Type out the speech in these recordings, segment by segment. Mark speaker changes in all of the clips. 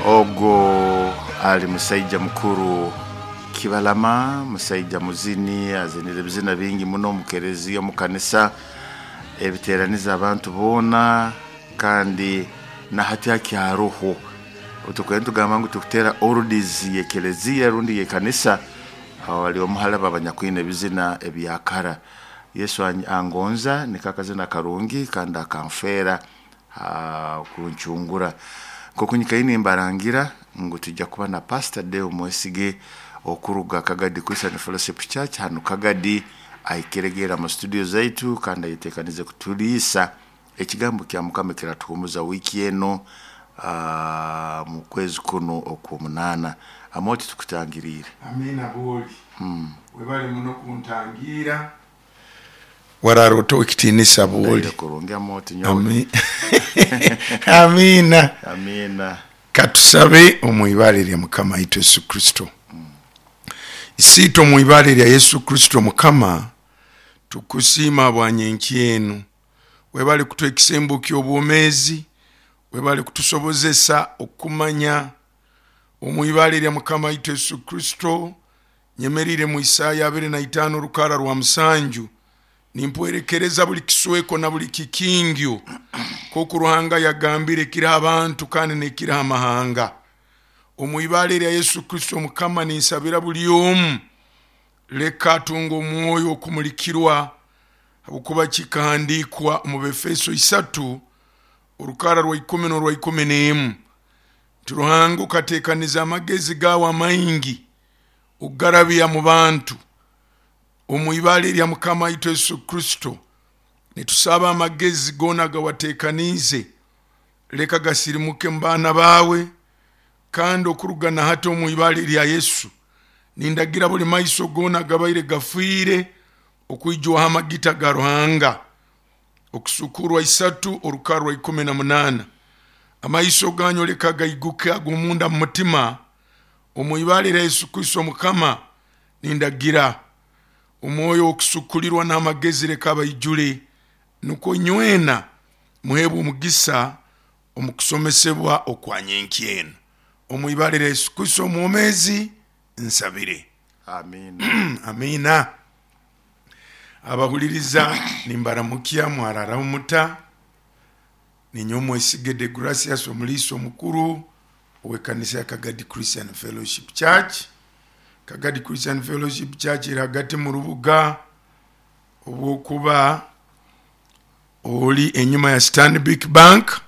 Speaker 1: Ogwo ali musaija mukuru Kibalama, musaija muzini, azinire ebizina bingi muno omu kereziya, omu kanisa, ebiteraniza abantu boona kandi na hati akyaroho. Obu tukubaire nitugamba ngu tukuteera oldies y'ekereziya rundi y'ekanisa, ali omu hali abo abanyakwine ebizina ebya kara. Yesu angonza niko akazina akarungi kandi akanfeera kuncungura. Nk'oku nyikaire nimbarangira ngu twija kuba na Pastor Deo Mwesige okuruga Kagadi Christian Fellowship Church hanu Kagadi ahikire mu studio zaitu kandi ayetekanize kutuliisa ekigambo kya Mukama ekiratuhumuza wiiki enu mu kwezi kunu okw'omunaana. Amooti tukutangiriire.
Speaker 2: Amiina bwoli. Webale muno kuntangiira. Warara ota owekitiinisa bwoli.
Speaker 1: Ndaire kurungi Amooti nyowe.
Speaker 2: Amiina.
Speaker 1: Amiina.
Speaker 2: Katusabe omu ibara erya Mukama waitu Yesu Kristo. Isiitwe omu ibara erya Yesu Kristo Mukama, tukusiima habwa nyenkya enu. Webale kutuha ekisembo ky'obwomeezi, webale kutusobozesa okumanya omu ibara erya Mukama waitu Yesu Kristo. Nyemerire mu Isaya abiri na itaano orukara rwa musanju, nimpwerekereza buli kisweko na buli kikingyo, nk'oku Ruhanga yagambire ekiriho abantu kandi n'ekiriho amahanga. Omu ibara erya Yesu Kristo Mukama ninsabira buli omu, leka atunge omwoyo okumulikirwa, habwokuba kikahandiikwa omu Befeso isatu orukara rwa ikumi n'orwa ikumi n'emu nti Ruhanga okatekaniza amagezi gawe amaingi okugarabya mu bantu. Omu ibara erya Mukama waitu Yesu Kristo nitusaba amagezi goona agawatekaniize leka gasirimuke mu baana baawe, kandi okuruga na hati omu ibara erya Yesu nindagira buli maiso goona agabaire gafiire okwijwaho amagita ga Ruhanga. Okusukurwa isatu orukara rwa 18. Amaiso ganyu leka gaiguke ag'omunda mu mutima, omu ibara erya Yesu Kristo Mukama nindagira omwoyo w'okusukulirwa n'amagezi leka abaijule, nukwo inywena muheebwe omugisa omu kusomesebwa okwa nyenkya enu. Omu ibara erya Yesu Kristo omwomeezi nsabire.
Speaker 1: Amiina.
Speaker 2: Amiina. Abahuliriza nimbaramukya mwararaho muta. Ninyowe Mwesige Degracius omuliisa omukuru ow'ekanisa ya Kagadi Christian Fellowship Church. Kagadi Christian Fellowship Church eri hagati mu rubuga obwokuba ori enyuma ya Stanbic Bank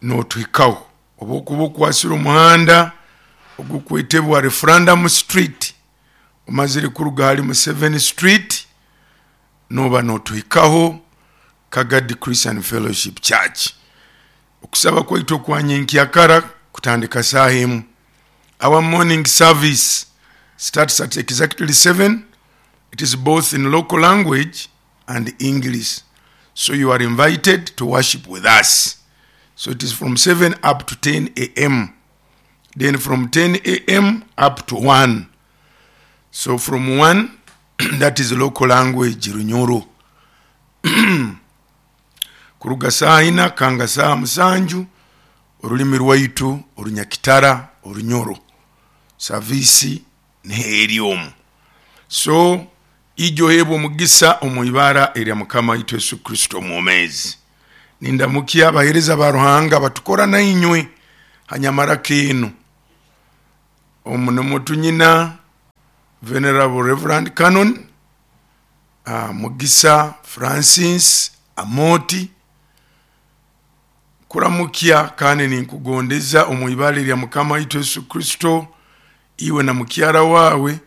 Speaker 2: notuhikaho. Obwokuba okwasire omuhanda ogukwetebwa Referendum Street omazire kuruga hali Museveni Street noba notuhikaho Kagadi Christian Fellowship Church. Okusaba kwaitu okwa nyenkyakara kutandika saaha emu. Our morning service starts at exactly 7. It is both in local language and English. So you are invited to worship with us. So it is from 7 up to 10 a.m. Then from 10 a.m. up to 1. So from 1, that is local language Runyoro. Kuruga saaha ina kanga saaha musanju orulimi rwaitu orunyakitara Orunyoro. Saviisi niho eri omu. So ija oheebwe omugisa omu ibara erya Mukama waitu Yesu Kristo omwomeezi. Nindamukya abaheereza ba Ruhanga abatukora nainywe ha nyamaraka enu. Omu nimwo tunyina Venerable Reverend Canon Mugisa Francis Amooti. Nkuramukya kandi ninkugondeza omu ibara erya Mukama waitu Yesu Kristo, iwe na mukyara waawe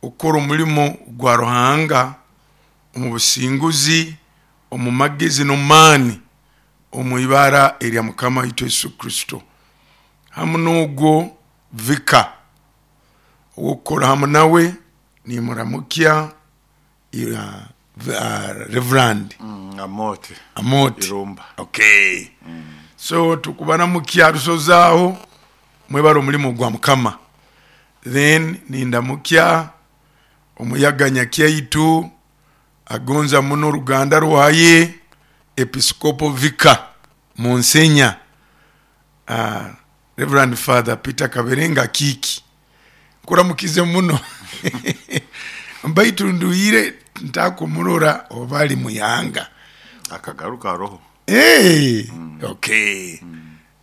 Speaker 2: okukora omulimo gwa Ruhanga omu businguzi, omu magezi n'omu maani, omu ibara erya Mukama waitu Yesu Kristo. Hamu n'ogwo Vicar ow'okukora hamu nawe nimuramukya Reverand
Speaker 1: Amooti.
Speaker 2: Amooti.
Speaker 1: Irumba.
Speaker 2: Okay. So tukubaramukya rusozaaho mwebale omulimo gwa Mukama. Then nindamukya omuyaga nyakyaitu agonza muno oruganda rwaye Episcopal Vicar Monsignor. Reverend Father Peter Kaberenga Akiiki, nkuramukize muno baitu nduhire ntakumurora oba ali muihanga.
Speaker 1: Akagaruka aroho.
Speaker 2: Hey, okay.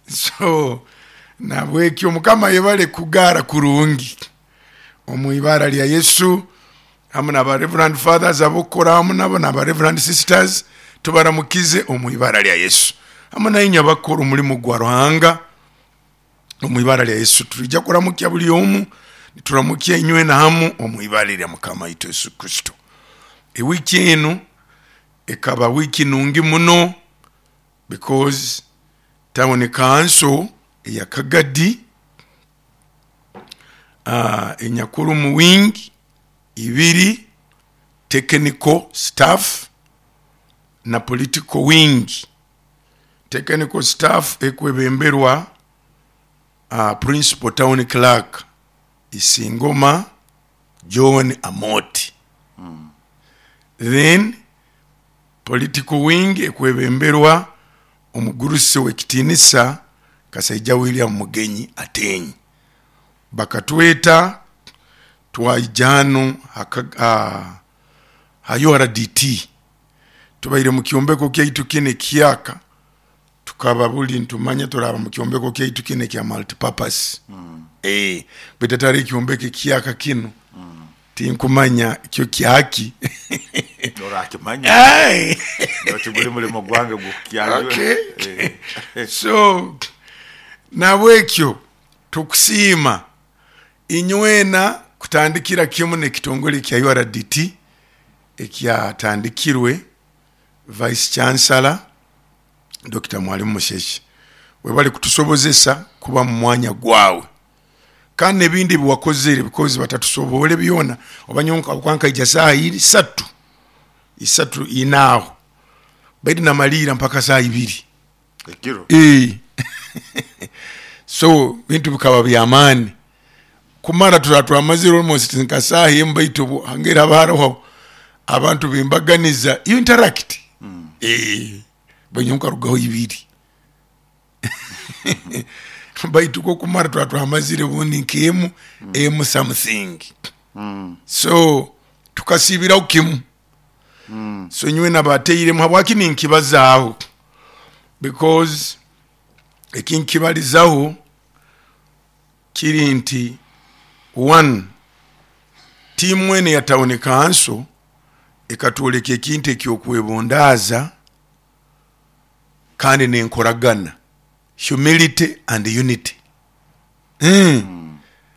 Speaker 2: So nabwekyo Mukama yebale kugara kurungi omu ibara lya Yesu, hamu naba Reverend Fathers abokukora hamu nabo naba Reverend Sisters, tubaramukize omu ibara lya Yesu. Hamu nainywe abakukora omulimu gwa Ruhanga omu ibara lya Yesu, twija kuramukya buli omu, nituramukya inywena hamu omu ibara lya Mukama waitu Yesu Kristo. Ewiki enu ekaba wiki nungi muno because town council eya Kagadi enyakuru wing ibiri, technical staff na political wing. Technical staff ekwebemberwa principal town clerk Isingoma John Amoti. Then political wing ekwebemberwa omugurusi w'ekitinisa Kasaija William Mugenyi Atenyi. Bakatweta twaija hanu ha URDT, tubaire mu kyombeko kyaitu kinu ekihyaka, tukaba buli nitumanya turaba mu kyombeko kyaitu kinu ekya multipurpose. Baitu atari ekyombeko ekihyaka kinu, tinkumanya kyo kyaki.
Speaker 1: Orakimanya. Tiguli mulimo gwange gw'okukyanjura.
Speaker 2: Okay. So nabwekyo tukusiima inywena kutandikira kimu n'ekitongole kya URDT ekyatandikirwe Vice Chancellor Dr. Mwalimu Musheshe. Webale kutusobozesa kuba mu mwanya gwawe, kandi n'ebindi ebiwakozere because batatusobole byona. Oba nyowe nkaija saaha isatu, isatu inaaho, baitu namaliira mpaka saaha ibiri
Speaker 1: ekiro.
Speaker 2: So bintu bikaba byamaani kumara turaba twamazire almost nka saaha emu, baitu hangeri haba haroho abantu bembaganiza, you interact. Baitu nkarugaho ibiri, baitu kokumara turaba twamazire obundi nk'emu emu something. So tukasiibiraho kimu. So nyowe nabateiremu. Habwaki ninkibazaaho? Because ekinkibalizaho kiri nti one, tiimu enu eya town council ekatwoleka ekintu ekyokwebundaaza kandi nenkoragana, humility and unity.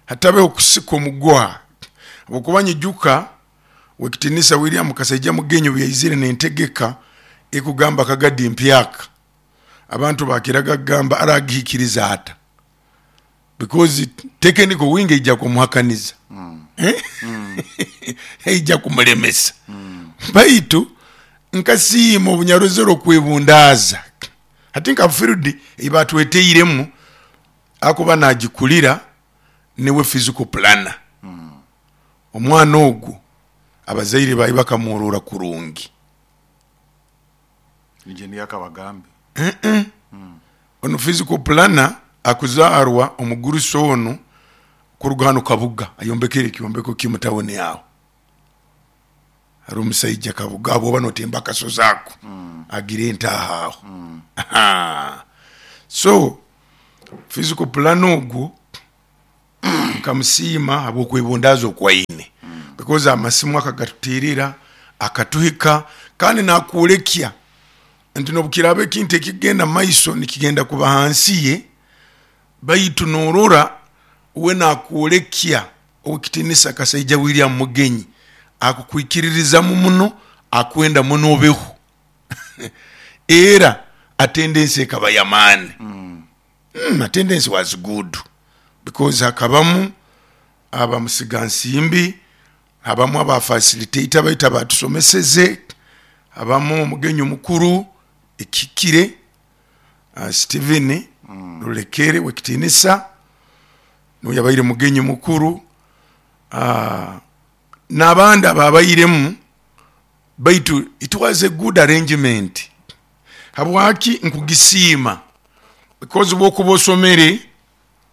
Speaker 2: Hatabeho kusika omuguha, habwokuba nyijuka wekitinisa William Kasaija Mugenyi obu yaizire nentegeka ekugamba Kagadi mpyaka, abantu bakiraga kugamba aragihikiriza ata, because technical wing eija kumuhakaniza, eija kumulemesa. Baitu nkasiima obunyarozero okwebundaaza. Hati nka field eibatweteiremu, akuba nagikulira niwe physical planner. Omwana ogu abazaire bawe bakamworora kurungi.
Speaker 1: Engineer Kabagambe.
Speaker 2: Onu physical planner akuzaarwa omugurusi onu kuruga hanu Kabuga, ayombekere ekyombeko kimu tawuni aho. Hari omusaija Kabuga bwoba notemba akasozi ako, agira entaha aho. So physical planner ogwo nkamusiima habw'okwebundaaza okwaine, because amasimu akagatuteerera akatuhika, kandi nakwolekya nti nobukiraaba ekintu ekikugenda mumaiso nikigenda kuba hansi ye, baitu norora we nakwolekya owekitinisa Kasaija William Mugenyi akukwikiririzamu muno, akwenda muno obeho. Era attendance ekaba yamaani. Attendance was good because hakabamu abamusigansimbi, habamu aba facilitator baitu abatusomeseze, habamu omugenyi omukuru ekihikire, Stephen Rulekere wekitinisa niwe yabaire mugenyi mukuru, n'abandi ababairemu, baitu it was a good arrangement. Habwaki nkugisiima? Because bwokuba osomere.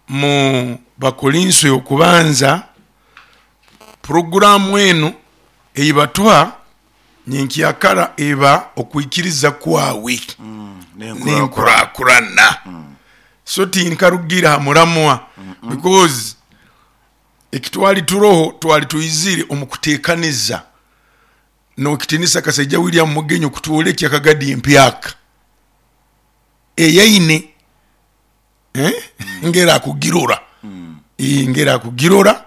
Speaker 2: Mu Bakolinso y'okubanza, puroguramu enu eyibatuha nyenkyakara eba okwikiriza kwawe nenkurakurana. So tinkarugire ha muramwa because ekitwali turoho twali twizire omu kutekaniza nokitinisa Kasaija William Mugenyi okutwolekya kagadi empyaka eyaine ngeri akugirora, ngeri akugirora.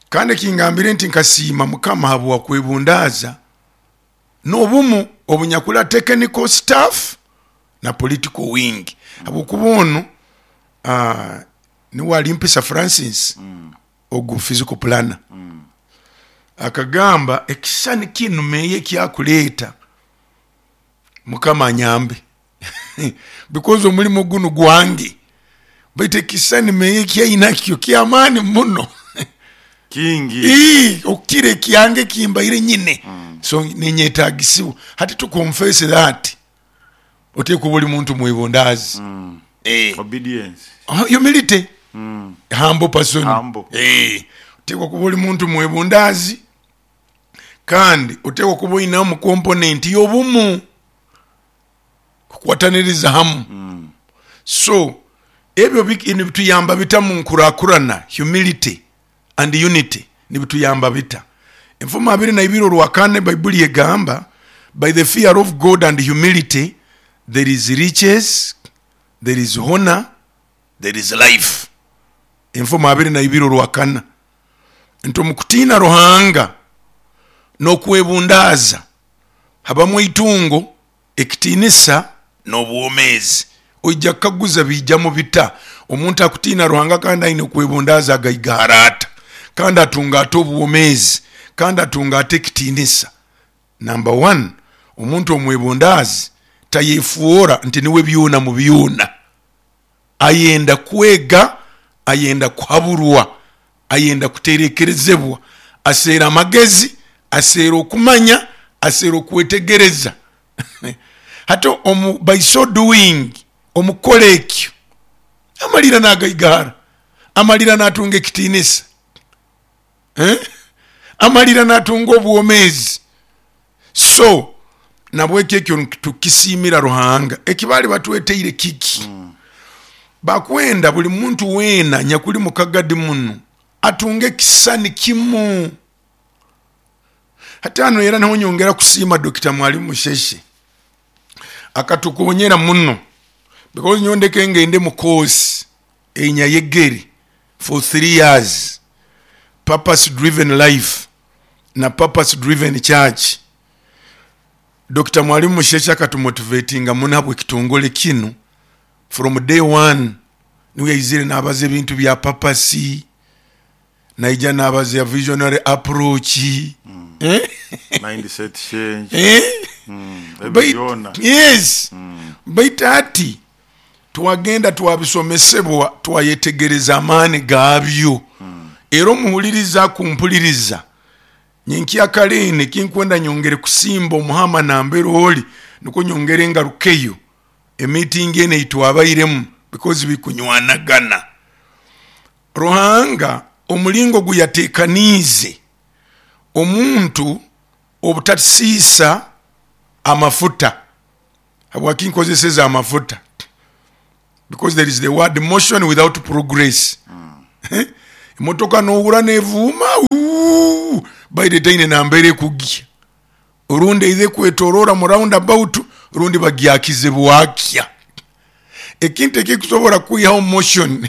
Speaker 2: Kandi ekingambire nti nkasiima Mukama habwa kwebundaaza n'obumu obunyakuli technical staff na political wing, habwokuba onu niwe Alimpisa Francis ogu physical planner akagamba ekishushani kinu meeya ekyakuleeta Mukama anyambe because omulimo gunu gwange baitu ekishushani meeya eki ainakyo kyamaani muno
Speaker 1: Kingi.
Speaker 2: Ii, okukira ekyange ekimbaire nyine. So ninyetagisibwa hati to confess that oteekwa kuba oli muntu mwebundaazi.
Speaker 1: Obedience.
Speaker 2: Humility. Humble person.
Speaker 1: Humble.
Speaker 2: Oteekwa kuba oli muntu mwebundaazi kandi oteekwa kuba oinamu component y'obumu, kukwataniriza hamu. So ebyo nibituyamba bita mu nkurakurana? Humility and unity nibituyamba bita? Enfumo abiri na ibiri orwakana Baibuli egamba, by the fear of God and humility there is riches, there is honor, there is life. Enfumo abiri na ibiri orwakana nti omu kutiina Ruhanga n'okwebundaaza habamu eitungo, ekitiinisa, n'obwomeezi. Oija kukaguza biijamu bita? Omuntu akutiina Ruhanga kandi aine okwebundaaza agaigahara ata? Kandi atunga ata obwomeezi? Kandi atunga ata ekitiinisa? Namba wani, omuntu omwebundaazi tayefoora nti niwe byona mu byona. Ayenda kwega, ayenda kuhaburwa, ayenda kuterekerezebwa, aseera amagezi, aseera okumanya, aseera okwetegereza. Hati omu by so doing, omu kukora ekyo, amalira nagaigahara, amalira natunga ekitiinisa, amalira natunga obwomeezi. So nabwekyo ekyo tukisiimira Ruhanga. Eki baali batweteire kiki? Bakwenda buli muntu weena nyakuli mu kagadi munu atunge ekisisani kimu. Hati hanu era niho nyongera kusiima Dokita Mwalimu Musheshe, akatukonyera muno because nyowe ndeke ngende mu course einyayegere for 3 years, purpose driven life na purpose driven church. Dokita Mwalimu Musheshe akatumotivatinga muno habw'ekitongole kinu from day one. Niwe yaizire nabaza ebintu bya purpose, naija nabaza ya visionary approach.
Speaker 1: Mindset change. Ebyo byona.
Speaker 2: Yes. Baitu hati twagenda twabisomesebwa, twayetegereza amaani gaabyo. Era omuhuliriza akumpuliriza, nyenkyakara enu ekinkwenda nyongere kusimba omuhama nambere ori, nukwo nyongere ngarukeyo emiitingi enu ei twabairemu, because bikunywanagana. Ruhanga omulingo ogu yateekaniize omuntu obutasiisa amafuta. Habwaki nkozeseze amafuta? Because there is the word motion without progress. Emotoka nohura nevuuma, uuh, baire etaine nambere ekugya, orundi eidha ekwetorora mu round about, rundi bagyakize bwakya. Ekintu ekikusobora kwihaho motion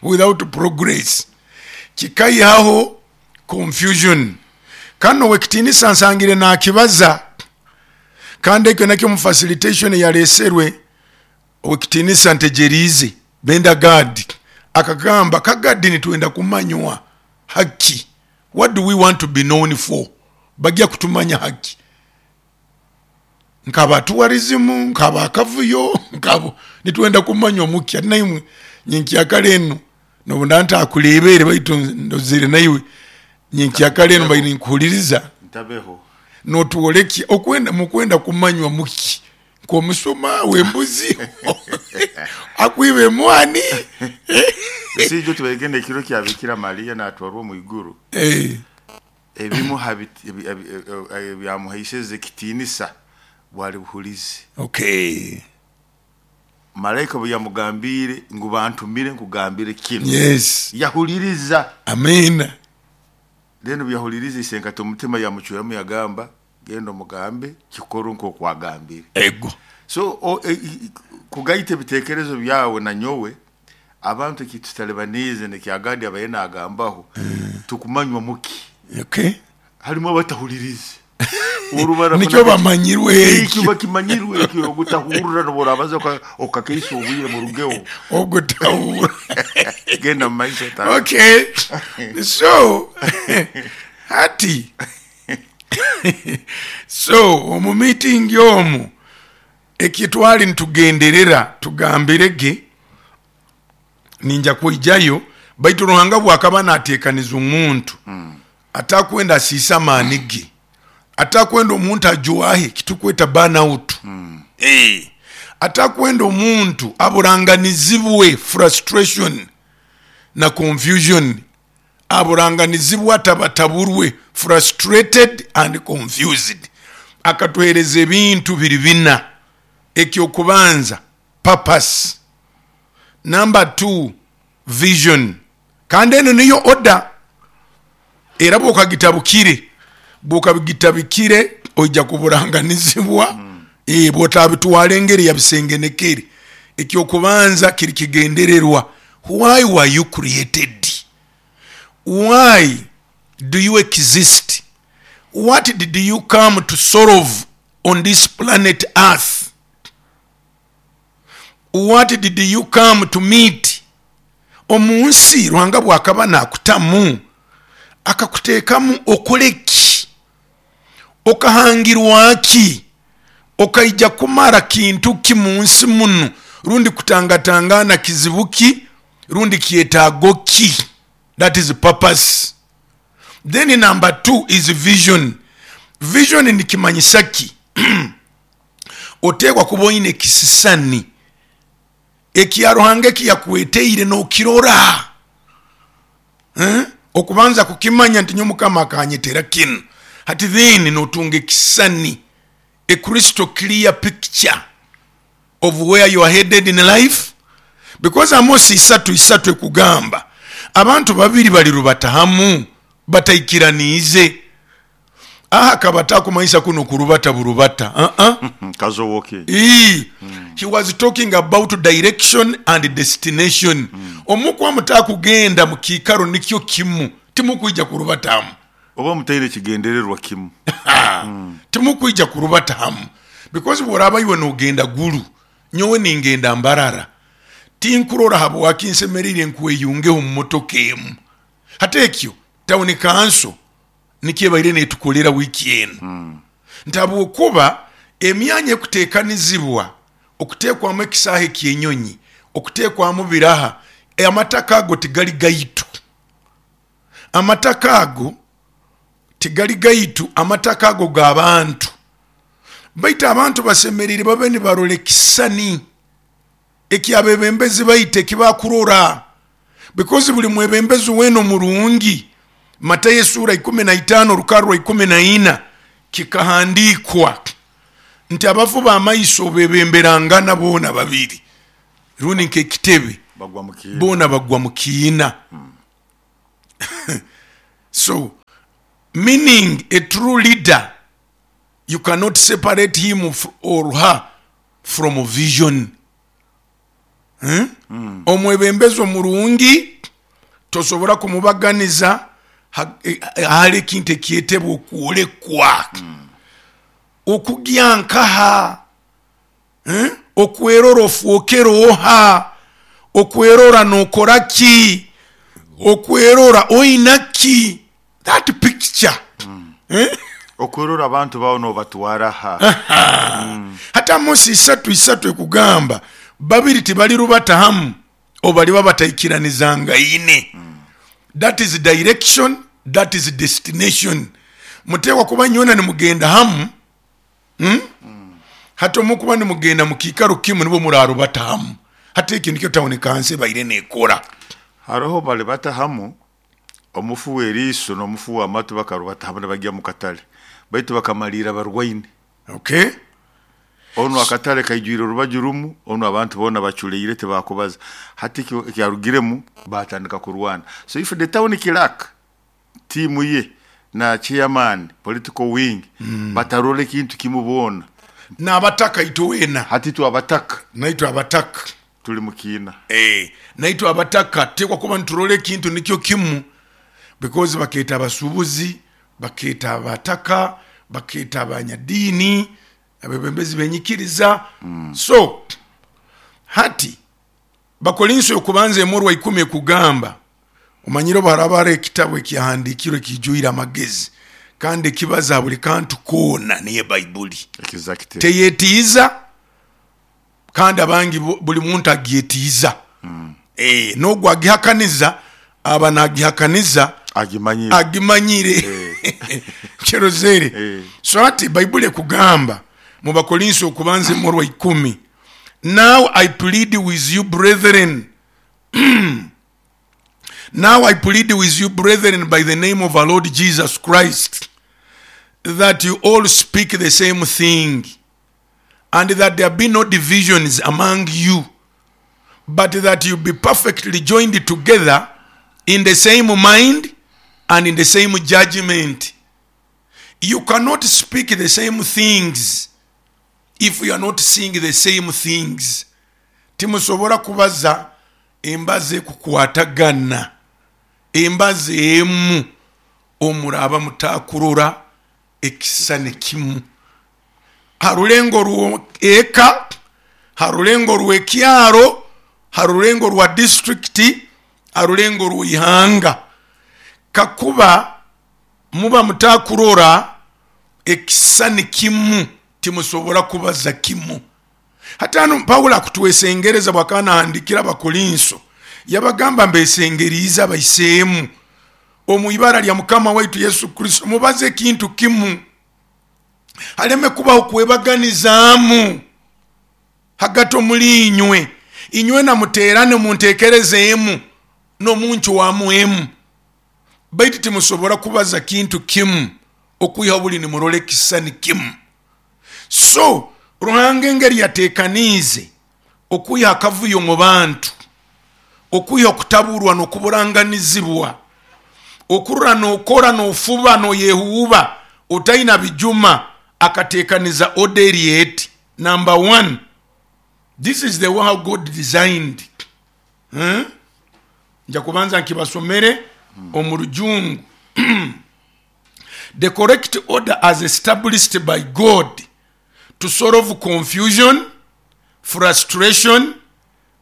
Speaker 2: without progress kikaihaho confusion. Kandi owekitiinisa nsangire nakibaza, kandi ekyo nakyo omu facilitation eyaleserwe owekitiinisa Ntegyereize Benda Gad, akagamba Kagadi nitwenda kumanywa haki, what do we want to be known for? Bagya kutumanya haki nkaba tourism, nkaba akavuyo, nkabo nitwenda kumanywa muki? Ati naimwe nyenkyakara enu nobu nda ntakurebere baitu ndozere naiwe nyenkyakara enu mbaire ninkuhuliriza.
Speaker 1: Ntabeho.
Speaker 2: Notwolekya okwenda mukwenda kumanywa muki? Nk'omusuma w'embuzi akwiba emwani.
Speaker 1: Esiijo tubaigenda ekiro kya Bikira Mariya natwarwa omu iguru. Ebimu ha byamuhaiseze ekitiinisa bwali buhulizi. Malaika obu yamugambiire ngu bantumire nkugambire kinu. Yahuliriza.
Speaker 2: Amiina.
Speaker 1: Then obu yahulirize isenkati omutima yamucweramu yagamba, genda omugambe kikorwe nk'oku agambire.
Speaker 2: Ego.
Speaker 1: So kugaita ebitekerezo byawe na nyowe, abantu ekitutalibaniize nekyagandi abaire nagambaho, tukumanywa muki? Harimu abatahulirize.
Speaker 2: Nikyo bamanyirwe
Speaker 1: ekyo.
Speaker 2: Ekyo
Speaker 1: bakimanyirwe ekyo, ogutahurra nobu orabaza okakaisa obwire murugeho.
Speaker 2: Ogutahurra.
Speaker 1: Genda mu maiso tata.
Speaker 2: Okay. So hati so omu meeting omu ekitwali nitugenderera tugambirege ninja kwijayo, baitu Ruhanga bwakaba natekaniza omuntu atakwenda asiise amaani ge, atakwenda omuntu ajwahe kitukweta burn out, atakwenda omuntu aburanganizibwe frustration na confusion, aburanganizibwe atabataburwe, frustrated and confused. Akatuhereza ebintu biri bina. Ekyokubanza, purpose. Number 2, vision. Kandi enu niyo order, era bwokagitabukire, bwokagitabikire oija kuburanganizibwa, bwotabitwara engeri yabisengenekere. Ekyokubanza kiri kigendererwa, why were you created? Why do you exist? What did you come to solve on this planet earth? What did you come to meet? Omu nsi Ruhanga bwakaba nakutamu, akakutekamu okole ki? Okahangirwa ki? Okaija kumara kintu ki mu nsi munu? Rundi kutangatangana kizibu ki? Rundi kyetaago ki? That is purpose. Then number 2 is vision. Vision nikimanyisa ki? Oteekwa kuba oine ekisisani ekya Ruhanga eki yakweteire nokirora. Okubanza kukimanya nti nyowe Mukama akanyetera kinu. Hati then notunga ekisisani, a crystal clear picture of where you are headed in life. Because Amosi isatu isatu ekugamba abantu babiri balirubata hamu bataikiraniize. Aha akaba atakumanyisa kunu kurubata burubata. Uh-uh.
Speaker 1: Kazowoke.
Speaker 2: He was talking about direction and destination. Omukwa mutakugenda mu kiikaro nikyo kimu, timukwija kurubata hamu.
Speaker 1: Oba mutaine kigendererwa kimu.
Speaker 2: Timukwija kurubata hamu. Because bworaba iwe nogenda Gulu, nyowe ningenda Mbarara, tinkurora habwaki nsemeriire nkweyungeho mu motoka emu. Hati ekyo town council nikyo ebaire netukolera wiiki enu, nti habwokuba emyanya ekutekanizibwa okutekwamu ekisaahe ky'enyonyi, okutekwamu biraha, amataka ago tigali gaitu. Amataka ago tigali gaitu, amataka ago g'abantu. Baitu abantu basemeriire babe nibarora ekisisani eky'abebembezi baitu ekibakurora, because buli mwebembezi weena omurungi, Matayo esuura ikumi na itaano orukarra rwa ikumi na ina, kikahandiikwa nti abafu b'amaiso bebemberangana boona babiri, rundi nk'ekitebe, boona bagwa mu kiina. So meaning a true leader, you cannot separate him or her from vision. Omwebembezi omurungi tosobora kumubaganiza ahali ekintu ekyetebwa okwolekwa. Okugya nkaha? Okwerora ofwokere oha? Okwerora nokora ki? Okwerora oina ki? That picture.
Speaker 1: Okwerora abantu bawe nobatwara ha?
Speaker 2: Hati Amosi isatu isatu ekugamba babiri tibalirubata hamu obaliba bataikiranizangaine. That is direction, that is destination. Mutekwa kuba nywena nimugenda hamu. Hati omukuba nimugenda mu kiikaro kimu nibwo murarubata hamu. Hati eki nikyo town council ebaire nekora.
Speaker 1: Haroho bali bata hamu, omufu w'eriiso n'omufu w'amatu bakarubata hamu nibagya mu katale, baitu bakamaliira barwaine.
Speaker 2: Okay.
Speaker 1: Onu akatale kaijwire orubaju rumu, onu abantu boona baculeire tibakubaza. Hati ekyarugiremu batandika kurwana. So if the town clerk, tiimu ye na chairman, political wing, batarora ekintu kimu boona.
Speaker 2: N'abataka itwe weena.
Speaker 1: Hati itwe abataka.
Speaker 2: Naitwe abataka.
Speaker 1: Tuli mu kiina.
Speaker 2: Naitwe abataka tuteekwa kuba niturora ekintu nikyo kimu, because bakeeta abasuubuzi, bakeeta abataka, bakeeta abanyadiini, abebembezi b'enyikiriza. So hati Bakorinso y'okubanza emurwa ikumi ekugamba, omanyire obu haraaba haroho ekitabu ekyahandiikirwe ekiijwire amagezi kandi ekibaza ha buli kantu koona, niyo Baibuli.
Speaker 1: Exactly.
Speaker 2: Teyetiiza kandi abangi buli muntu agyetiiza. N'ogu agihakaniza aba nagihakaniza
Speaker 1: Agimanyire.
Speaker 2: Agimanyire. Kirozere. So hati Baibuli ekugamba mu Bakorinso okubanza emurwa ikumi, Now I plead with you brethren, now I plead with you brethren by the name of our Lord Jesus Christ, that you all speak the same thing, and that there be no divisions among you, but that you be perfectly joined together in the same mind and in the same judgment. You cannot speak the same things if you are not seeing the same things. Timusobora kubaza embaza ekukwatagana, embaza emu, omuraaba mutakurora ekisisani kimu. Ha rulengo rw'eka, ha rulengo rw'ekyaro, ha rulengo rwa disiturikiti, ha rulengo rw'ihanga. Kakuba muba mutakurora ekisisani kimu, timusobora kubaza kimu. Hati hanu Paulo akutwesengereza bwakaba nahandikira Abakorinso, yabagamba, mbesengeriize abaiseemu omu ibara lya Mukama waitu Yesu Kristo, mubaze ekintu kimu, haleme kubaho kwebaganizaamu hagati omuli inywe. Inywena muteerane omu ntekereza emu n'omu ncwamu emu. Baitu timusobora kubaza kintu kimu okwihaho buli nimurora ekisisani kimu. So Ruhanga engeri yatekaniize okwiha akavuyo omu bantu, okwiha okutaburwa n'okuburanganizibwa, okurora n'okora n'ofuba n'oyehuuba otaina bijuma, akatekaniza order eri eti, number one, this is the way how God designed. Nja kubanza nkibasomere omu Rujungu. The correct order as established by God to solve confusion, frustration,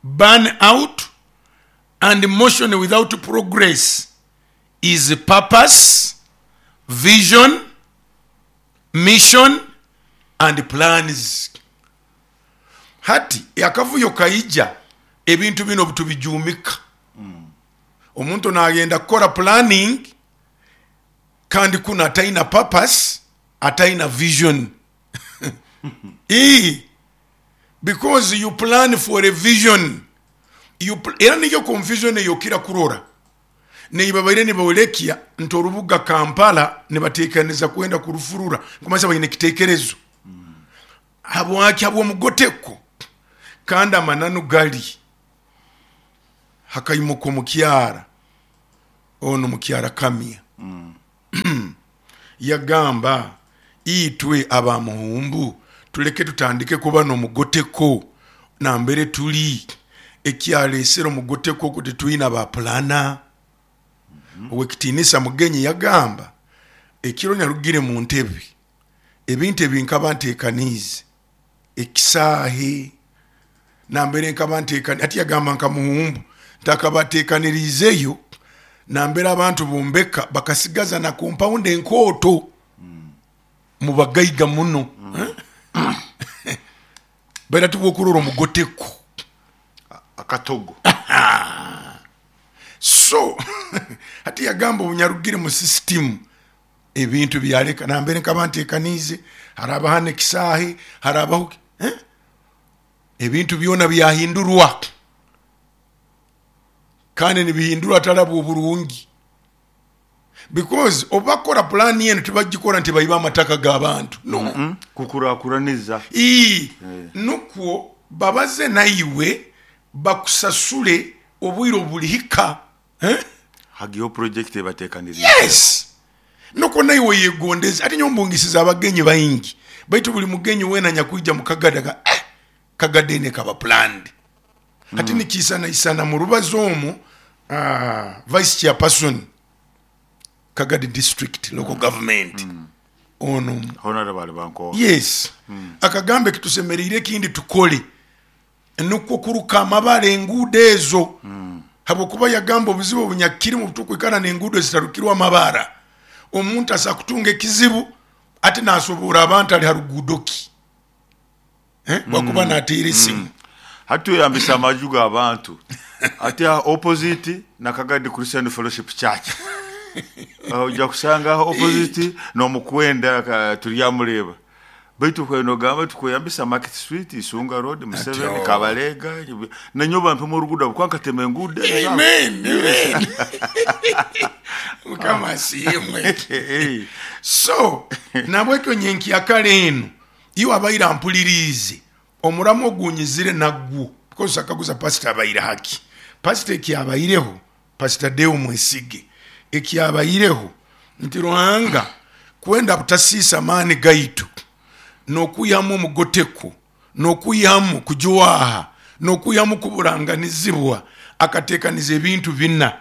Speaker 2: burn out and motion without progress is purpose, vision, mission and plans. Hati akavuyo kaija ebintu binu obutubijuumika. Omuntu nagenda kukora planning kandi kunu ataina purpose, ataina vision. Ii, because you plan for a vision. You era niyo confusion eyokira kurora. Neibabaire nibolekya nti orubuga Kampala nibatekaniza kwenda kurufurura, nkumanyisa baine ekitekerezo. Habwaki? Habw'omugoteko. Kandi amananu gali, hakaimuka omukyara onu mukyara Kamya yagamba, itwe aba Muhumbu tuleke tutandike kuba n'omugoteko nambere tuli. Ekyalesere omugoteko ogu titwina ba pulana. Ow'ekitiinisa Mugenyi yagamba, ekiro nyarugire mu ntebe, ebintu ebi nkaba ntekaniize, ekisaahe nambere nkaba ntekaniize, hati yagamba nka Muhumbu nti akaba atekaniriizeyo nambere abantu bombeka bakasigaza na kompaundi enkooto mubagaiga muno. Baitu hati bwokurora omugoteko
Speaker 1: akatogo.
Speaker 2: So hati yagamba obunyarugire mu sisitimu ebintu byaleka nambere nkaba ntekaniize, harabaho hanu ekisaahe, harabaho. Eh? Ebintu byona byahindurwa kandi nibihindurwa hatali habw'oburungi because obu bakukora pulaani enu tibagikora nti baibe amataka g'abantu no.
Speaker 1: Kukurakuraniza.
Speaker 2: Ii, nukwo babaze naiwe bakusasule obwire obu bulihika. Eh?
Speaker 1: Hagiho project ebatekaniriize.
Speaker 2: Yes! Nukwo naiwe oyegondeze. Hati nyowe mbungisize abagenyi baingi, baitu buli mugenyi weena anyakwija mu Kagadi agamba, eh, Kagadi enu ekaba planned. Hati nikiisanaisana mu rubazo omu, Vice Chairperson Kagadi District Local Government ono,
Speaker 1: Honorable Alibankowa.
Speaker 2: Yes, akagamba ekitusemeriire ekindi tukole nukwo kuruka amabara enguudo ezo habwokuba yagamba obuzibu obunyakirimu obutukwikara n'enguudo ezitarukirwe amabara, omuntu asobora kutunga ekizibu ati nasoboora abantu ali ha ruguudo ki bwakuba nateera esimu.
Speaker 1: Hati tweyambisa amaju g'abantu hati aha opposite na Kagadi Christian Fellowship Church oija kusanga aho opposite n'omukwenda turyamureeba. Baitu okaire nogamba oti kweyambisa Market Street, Isunga Road, Museveni,
Speaker 2: Atyo.
Speaker 1: Kabalega, nanyowe bampemu oruguudo habwokuba nkatema enguudo ezo.
Speaker 2: Amen, amen. Mukama asiimwe. So, nabwekyo nyenkyakara enu, iwe abaire ampuliriize, omuramu ogunyizire nagwo, because akaguza pastor abaire haki? Pastor ekyabaireho, Pastor Deo Mwesige, ekyabaireho nti Ruhanga kwenda butasiisa maani gaitu n'okwihamu omugoteko, n'okwihamu kujwaha, n'okwihamu kuburanganizibwa, akateekaniza ebintu bina,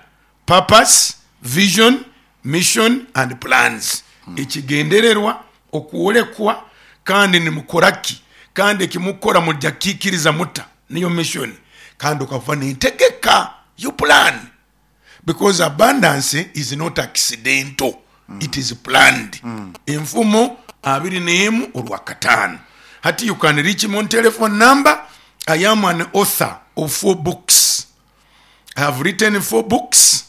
Speaker 2: purpose, vision, mission and plans. Ekigendererwa, okwolekwa, kandi nimukora ki, kandi ekimukukora murija kukikiriza muta, niyo mission, kandi okava n'entegeka, you plan. Because abundance is not accidental, it is planned. Enfumo abiri n'emu orwakataano. Hati you can reach me on telephone number, I am an author of 4 books. I have written 4 books.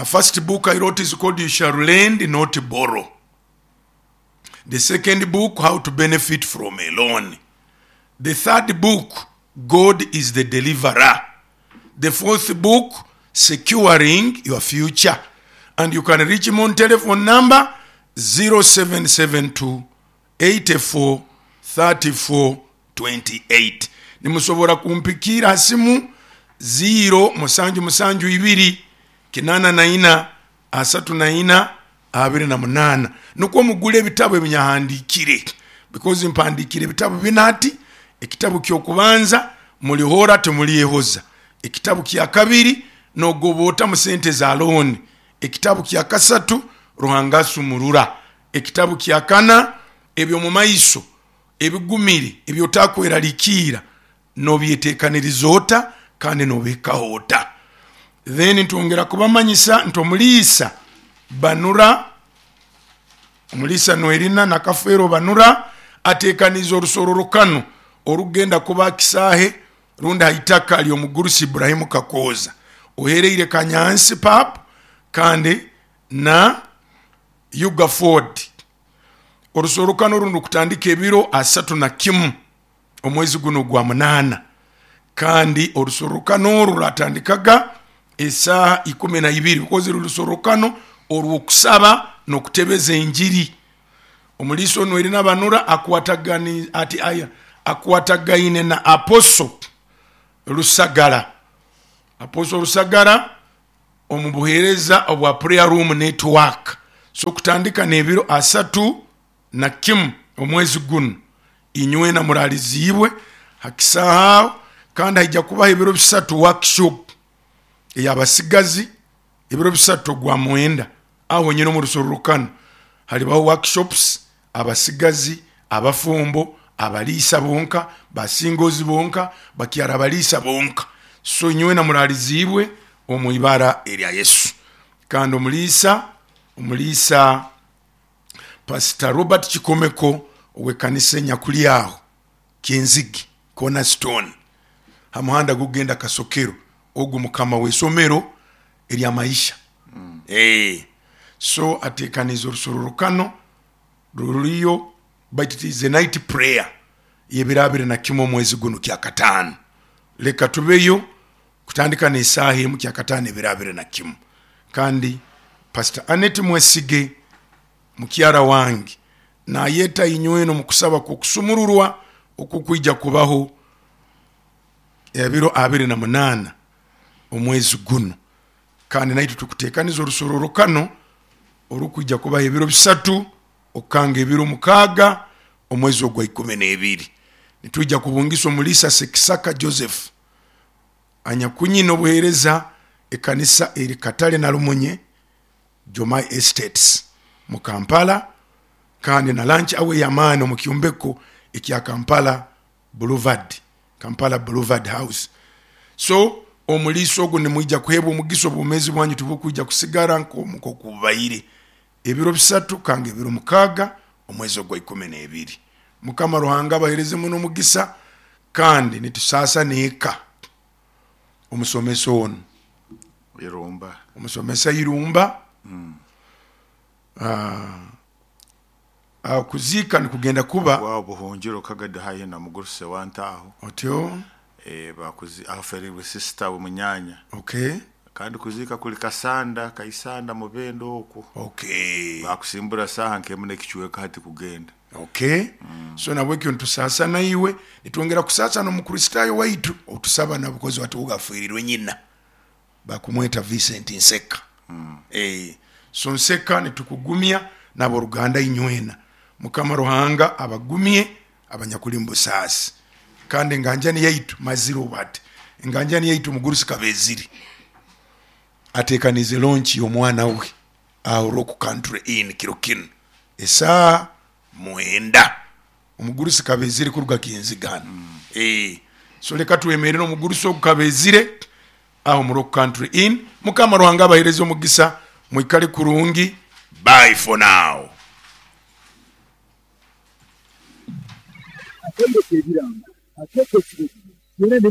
Speaker 2: First book I wrote is called You Shall Lend Not Borrow. The second book, How to Benefit from a Loan. The third book, God is the Deliverer. The fourth book, Securing Your Future. And you can reach me on telephone number 0772 84 34 28. Nimusobora kumpikiira ha simu ziiro musanju musanju ibiri kinana na ina asatu na ina 28 nukwo mugule ebitabu ebinyahandiikire because mpandiikire ebitabu bina hati, ekitabu ky'okubanza Mulihora Timulyehoza, ekitabu kyakabiri Nogoba Ota mu Sente za Looni, ekitabu kyakasatu Ruhanga Asumurura, ekitabu kyakana Eby'omumaiso Ebigumire Eby'otakweralikirra Nobyetekaniriza Ota Kandi Nobihikaho Ota. Then ntwongera kubamanyisa nti omuliisa Banura, omuliisa Noelina Nakafeero Banura atekaniize orusororokano orukugenda kuba ha kisaahe rundi ha itaka ly'omugurusi Ibrahim Kakooza ohereire Kanyansi Pub kandi na Yuga Ford. Orusororokano runu rukutandika ebiro 31 omwezi gunu ogwa munaana kandi orusororokano oru ruratandikaga esaaha ikumi na ibiri because ruri rusororokano orw'okusaba n'okutebeza enjiri. Omuliisa onu Elina Banura akwatagaine na Apostle Rusagara. Apostle Rusagara omu buheereza obwa Prayer Room Network. So kutandika n'ebiro 31 omwezi gunu, inywena muraliziibwe ha kisaahe aho, kandi haija kubaho ebiro bisatu workshop ey'abasigazi, ebiro bisatu ogwa mwenda aho honyini omu rusorrokano halibaho workshops, abasigazi, abafumbo, abaliisa bonka, ba singles bonka, bakyara abaliisa bonka. So inywena muraliziibwe omu ibara erya Yesu. Kandi omuliisa Pastor Robert Kikomeko ow'ekanisa enyakuli aho Kyenzigi Cornerstone ha muhanda gukugenda Kasokero, ogu mukama w'isomero erya Maisha. So atekaniize orusororokano ruriyo, baitu it is a night prayer. Y'ebiro 21 omwezi gunu Kyakataano. Leka tubeyo kutandika n'esaaha 1 Kyakataano ebiro 21. Kandi Pastor Annet Mwesige mukyara wange nayeta inywena omu kusaba kw'okusumururwa okukwija kubaho ebiro 28 omwezi gunu. Kandi naitwe tukutekaniza orusororokano orukwija kubaho ebiro 3 okukanga ebiro 6 omwezi ogwa 12. Nitwija kubungisa omulisa Sekisaka Joseph anyakunyina obuhereza ekanisa eri Katale na Lumunye Jomai Estates mu Kampala, kandi na lunch hour ey'amaani omu kyombeko ekya Kampala Boulevard, Kampala Boulevard House. So omuliisa ogu nimwija kuheebwa omugisa, obwomeezi bwanyu tibukwija kusigara nk'oku bubaire ebiro 3 kanga ebiro 6 omwezi ogwa 12. Mukama Ruhanga abahereze muno omugisa, kandi nitusaasa n'eka omusomesa onu
Speaker 1: Irumba.
Speaker 2: Omusomesa Irumba. Okuziika nikugenda kuba
Speaker 1: Wawo buhungiro kagadi haihi na muguruse wantaho.
Speaker 2: Otyo.
Speaker 1: Aferirwe sister we munyanya. Kandi kuziika kuli Kasanda, Kaisanda Mubende okwo. Bakusimbura saaha nk'emu n'ekicweka hati kugenda.
Speaker 2: So nabwekyo nitusaasa naiwe, nitwongera kusaasa n'Omukristaayo waitu otusaba nabukozi wati ogu afiirirwe nyina. Bakumweta Vincent Nseka. So Nseka nitukugumya n'aboruganda inywena. Mukama Ruhanga abagumye abanyakuli mu busaasi. Kandi enganjani yaitu mazire obu hati. Enganjani yaitu omugurusi Kabeziri atekaniize launch y'omwana we aho Rock Country Inn kiro kinu esaaha 9. Omugurusi Kabezire kuruga Kinziga hanu. So leka twemerere omugurusi ogu Kabezire aho mu Rock Country Inn. Mukama Ruhanga abahereze omugisa, mwikale kurungi. Bye for now.
Speaker 3: Akaire k'ebirango akeekwo ekiro byona ne.